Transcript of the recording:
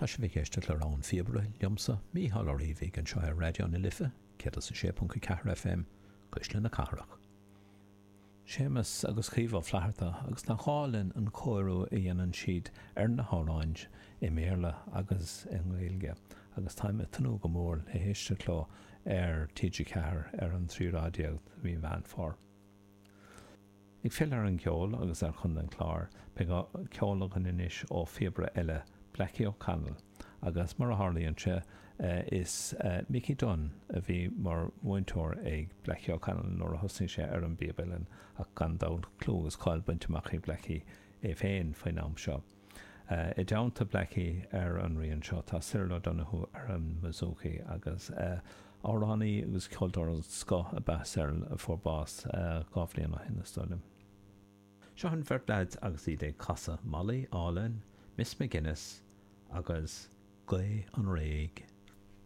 Tá sibh ag éisteacht le Rogha an Phíobaire liomsa, Mícheál Ó Riabhaigh, anseo ar Raidió na Life, 106.4 FM, Cuisle na Cathrach. Séamus agus Caoimhe Ó Flatharta, agus nach álainn an cóiriú a dhéanann siad ar na hamhráin i mBéarla agus i nGaeilge, agus táim ag tnúth go mór le héisteacht leo ar TG4 ar an 13 lá de mhí Mheán Fómhair. Ag filleadh ar an gceol agus ar Chontae an Chláir, beidh ceol againn anois ó phíobaire eile, Blackie O'Connell, agus mar a tharlaíonn sé, is Mickey Dunne a bhí mar mhúinteoir ag Blackie O'Connell nuair a thosnaigh sé ar an bpíob uilleann, ach gan dabht clú agus cáil bainte amach ag Blackie é féin faoin am seo. I dteannta Blackie ar an rian seo tá Cyril O'Donoghue ar an mbouzouki agus amhránaí agus ceoltóir den scoth ab ea Cyril a fuair bás 2 bhliain ó shin is dóigh liom. Seo an bheirt leaids agus iad ag casadh Molly Álainn, Miss McGuinness agus Gaoth an Fhraoigh.